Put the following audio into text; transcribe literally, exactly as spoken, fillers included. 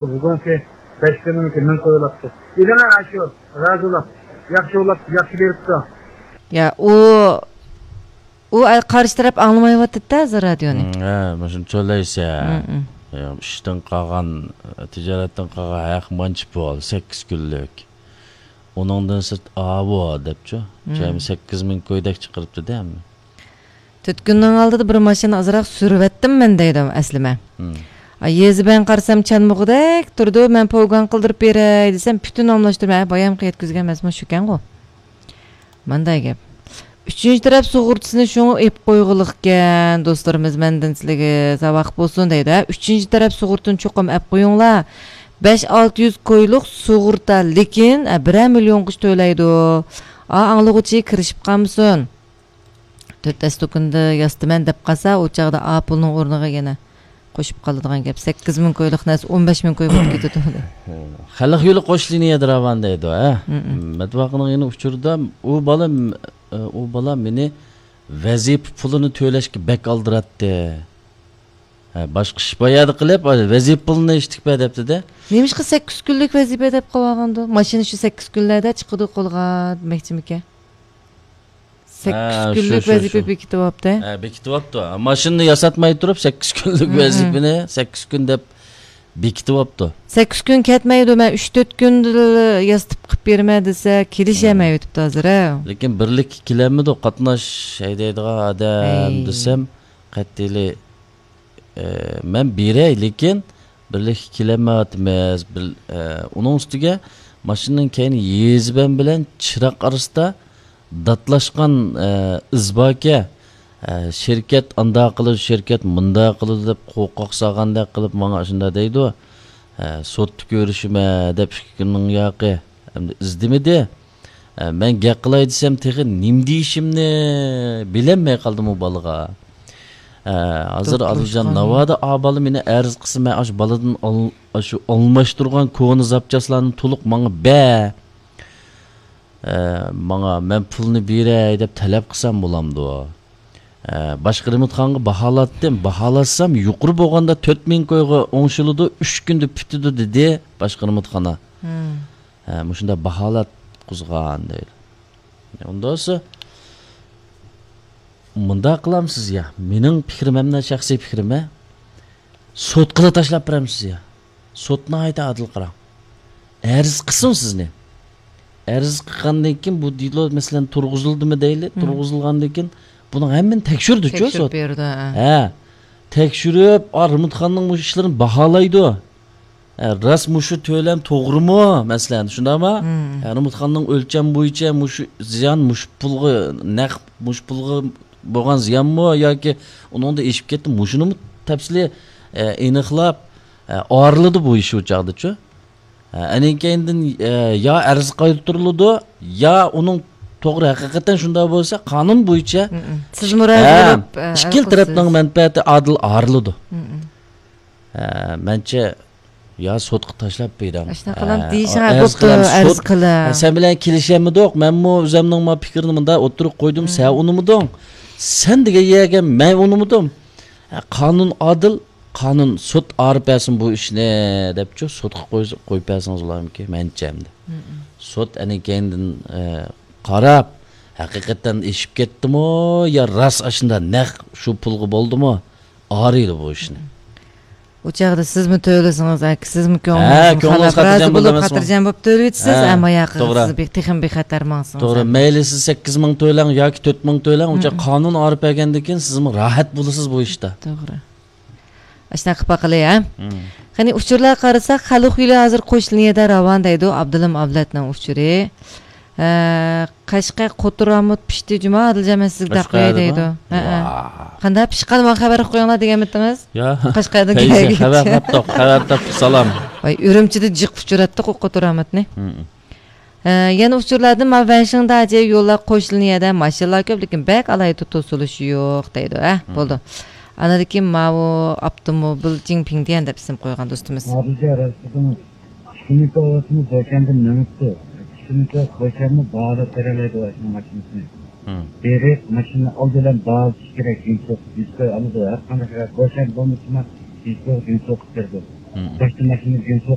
بۈگۈنكى بەش كۈننىڭكى مىڭ كوي بولاپتۇ. ئىلىنا ئاشۇ رازىلاپ، ياخشى بولاپ، ياخشى بېرىپتۇ. يا، ئۇ، ئۇ قارشى تەرەپ ئاڭلىمايۋاتىدۇ ھازىر رادىيونى. ھە، مۇشۇنى تۆلەيسە. ھە، ئىشتىن قالغان، تىجارەتتىن قالغان ھەق مانچە پۇل، سەككىز كۈنلۈك. ئۇنىڭدىن سىرت ئاۋۇ دەپچۇ. جەمئىي سەككىز مىڭ كويدەك چىقىرىپتۇ-دە. تۆت كۈننىڭ ئالدىدا بىر ماشىنا ئازراق سۈرۈۋەتتىم مەن دەيدۇ ئەسلىمە. ئا، يېزا بىلەن قارىسام چانمىغۇدەك تۇرىدۇ، مەن پوگان قىلدۇرۇپ بېرەي دېسەم، پۈتۈن ئالماشتۇرۇپ، ھە، بايامقى يەتكۈزگەن ئەمەسمۇ شۇكەنغۇ. مانداق گەپ. ئۈچىنچى تەرەپ سۇغۇرتىسىنى شۇڭا ئېلىپ قويغۇلۇقكەن، دوستلىرىمىز مەندىن سىلىگە ساۋاق بولسۇن دەيدۇ، ھە. ئۈچىنچى تەرەپ سۇغۇرتىنى چوقۇم ئەپ قويۇڭلار. بەش ئالتە يۈز كويلۇق سۇغۇرتا، لېكىن، ھە، بىرەر مىليونغىچە تۆلەيدۇ. ئا، ئاڭلىغۇچى كىرىشىپ قالمىسۇن. تۆت ئەستوكۇندا ياسىتىمەن دەپ قالسا، ئۇ چاغدا ئا پۇلنىڭ ئورنىغا يەنە قوشۇپ قالىدىغان گەپ. سەككىز مىڭ كويلۇق نەرسە ئون بەش مىڭ كوي بولۇپ كېتىدۇ. خەلق يولى قوش لىنىيەدە راۋان دەيدۇ، ھە؟ مەتبۇخانىڭ يەنە ئۇچۇردا ئۇ بالا، ئۇ بالا مېنى ۋەزىپە پۇلىنى تۆلەشكە بەك ئالدىراتتى. ھە، باشقا ئىش بار يەردە قىلىپ، ۋەزىپە پۇلىنى ئىشتىك بەر دەپتۇ-دە. نېمىشقا سەككىز كۈنلۈك ۋەزىپە دەپ قويۇۋالغاندۇ؟ ماشىنا شۇ سەككىز كۈنلەردە چىقىدۇ قولغا دېمەكچىمىكەن؟ سەككىز ھە، كۈنلۈك شۇ، شۇ، ۋەزىپە شۇ. بېكىتىۋاپتۇ. ھە، بېكىتىۋاپتۇ. ماشىنىنى ياساتماي تۇرۇپ، سەككىز كۈنلۈك ھە، ھە. ۋەزىپىنى سەككىز كۈن دەپ بېكىتىۋاپتۇ. سەككىز كۈن كەتمەيدۇ، مەن ئۈچ تۆت كۈندە ياسىتىپ قىلىپ بېرىمەن دېسە، كېلىشەلمەيۋېتىپتۇ ھازىر، ھە. لېكىن بىرلىككە كېلەلمىدۇق، قاتناش ھەيدەيدىغان ئادەم ھەي. دېسەم، قەتئىيلى ئە، مەن بېرەي، لېكىن بىرلىككە كېلەلمەيۋاتىمىز. بىر، ئە، ئۇنىڭ ئۈستىگە ماشىنىنىڭ كەينى يېزىبەن بىلەن چىراغ ئارىسىدا داتلاشقان، ئە، ئىز باركەن. ئە، شىركەت ئانداق قىلىدۇ، شىركەت مۇنداق قىلىدۇ دەپ قورقاق سالغاندەك قىلىپ ماڭا شۇنداق دەيدۇ. ئە، سوتتا كۆرۈشىمەن دەپ ئىككى كۈننىڭ ياقى ئەمدى ئىز دېمىدى. ئە، مەن گەپ قىلاي دېسەم، تېخى نېمە دېيىشىمنى بىلەلمەي قالدىم ئۇ بالىغا. ئە، ھازىر ئادىلجان، ناۋادا ئا بالا مېنى ئەرز قىلسا، مەن ئاشۇ بالىدىن ئال-، ئاشۇ ئالماشتۇرغان كونا زاپچاسلارنى تولۇق ماڭا بەر. ئە، ماڭا، مەن پۇلنى بېرەي دەپ تەلەپ قىلسام بولامدۇ؟ ئە، باشقا رېمونتخانىغا باھالاتتىم. باھالاتسام، يۇقىرى بولغاندا تۆت مىڭ كويغا ئوڭشىلىدۇ، ئۈچ كۈندە پۈتىدۇ دېدى باشقا رېمونتخانا. ھە، مۇشۇنداق باھالاتقۇزغان دەيدۇ. ئۇنداق بولسا، مۇنداق قىلامسىز يا، مېنىڭ پىكرىم ھەم شەخسىي پىكرىم، ھە؟ سوتقىلا تاشلاپ بېرەمسىز يا؟ سوت ناھايىتى ئادىل قاراڭ. ئەرز قىلسۇن سىزنى. ئەرز قىلغاندىن كېيىن بۇ دېلو، مەسىلەن، تۇرغۇزۇلدىمۇ دەيلى، تۇرغۇزۇلغاندىن كېيىن بۇنىڭ ھەممىنى تەكشۈرىدۇچۇ سوت. تەكشۈرۈپ بېرىدۇ، ھە. ھە. تەكشۈرۈپ، ئا، رېمونتخانىنىڭ مۇشۇ ئىشلىرىنى باھالايدۇ. ئە، راست مۇشۇ تۆلەم توغرىمۇ، مەسىلەن، شۇنداقمۇ؟ ھە، رېمونتخانىنىڭ ئۆلچەم بويىچە مۇشۇ زىيان مۇشۇ پۇلغا، نەق مۇشۇ پۇلغا بولغان زىيانمۇ ياكى ئۇنىڭدىن ئېشىپ كەتتى، مۇشۇنىمۇ تەپسىلىي، ئە، ئېنىقلاپ، ئە، ئايرىلىدۇ بۇ ئىش ئۇ چاغدىچۇ. ئە، ئەنىڭ كەينىدىن، ئە، يا ئەرز قايتۇرۇلىدۇ، يا ئۇنىڭ توغرا ھەقىقەتەن شۇنداق بولسا، قانۇن بويىچە سىز مۇراجىئەت قىلىپ، ئە، ئىككىلا تەرەپنىڭ مەنپەئەتى ئادىل ئايرىلىدۇ. ئە، مەنچە، يا سوتقا تاشلاپ بېرىڭ. ئاشۇنداق قىلام دېيىشىڭ، ئە، بوپتۇ، ئەرز قىلىمەن، ئەرز قىلىڭ. سەن بىلەن كېلىشەلمىدۇق. مەنمۇ ئۆزۈمنىڭ ما پىكرىنى مۇنداق ئوتتۇرىغا قويدۇم، سەن ئۇنىمىدىڭ. سەن دېگەن يەرگە مەن ئۇنىمىدىم. ھە، قانۇن ئادىل، قانۇن، سوت ئايرىپ بەرسۇن بۇ ئىشنى دەپچۇ، سوتقا قويسا، قويۇپ بەرسىڭىز بولامدىكىن، مەنچە ئەمدى. سوت ئەنە كەينىدىن، ئە، قاراپ، ھەقىقەتەن ئېشىپ كەتتىمۇ يا راست ئاشۇنداق نەق شۇ پۇلغا بولدىمۇ، ئايرىيدۇ بۇ ئىشنى. ئۇ چاغدا سىزمۇ تۆلىسىڭىز، ئاكا، سىزمۇ كۆڭلىڭىز خاتىرجەم بولۇپ، خاتىرجەم بولۇپ تۆلىۋېتىسىز، ئەمما ياقى سىز بىر تېخىمۇ بىخەتەر ماڭسىڭىز. توغرا، مەيلى سىز سەككىز مىڭ تۆلەڭ ياكى تۆت مىڭ تۆلەڭ، ئۇ چاغ قانۇن ئايرىپ بەرگەندىن كېيىن سىزمۇ راھەت بولىسىز بۇ ئىشتا. توغرا. ئاشۇنداق قىلىپ باقىلى، ھە؟ قېنى، ئۇچۇرلارغا قارىساق، خەلق يولى ھازىر قوش لىنىيەدە راۋان دەيدۇ، ئابدۇلىم ئابلەتنىڭ ئۇچۇرى. ھە، قەشقەر قوتۇرامۇت پىشتى جۇما، ئادىلجان، مەن سىزگە دەپ قوياي دەيدۇ. ھە، ھە. قانداق پىشقان، ماڭا خەۋەر قويۇڭلار دېگەنمىدىڭىز؟ يا. قەشقەردىن كەلگەن خەۋەر قاپتۇق، خەۋەر تاپتۇق، سالام. ۋاي، ئۈرۈمچىدە جىق ئۇچراتتۇق ئۇ قوتۇرامۇتنى. ھە، يەنە ئۇچۇرلاردىن، مانا، ۋەنشىڭداجى يوللار قوش لىنىيەدە ماشىنىلار كۆپ، لېكىن بەك ئالاھىدە توسۇلۇش يوق دەيدۇ. ھە، بولدى. ئانىدىن كېيىن ماۋۇ ئاپتوموبىل جىڭپىڭدىيەن دەپ ئىسىم قويغان دوستىمىز. ئىككى كۈنلۈك ئاۋاتىمىز دوشەنبە مېڭىپتۇ. ئىككى كۈنلۈك دوشەنبە باھالاپ بېرەلەيدۇ ئاشۇنىڭ ماشىنىسىنى. بېرىپ، ماشىنىنى ئالدى بىلەن باھالىشى كېرەك، يۈز سوقۇپ، يۈز كوي ئالىدۇ. ھەر قانداق دوشەنبە بولمىسىمۇ، يۈز كوي، يۈز سوقۇپ بېرىدۇ. مم. باشتا ماشىنىنى جىنسىغا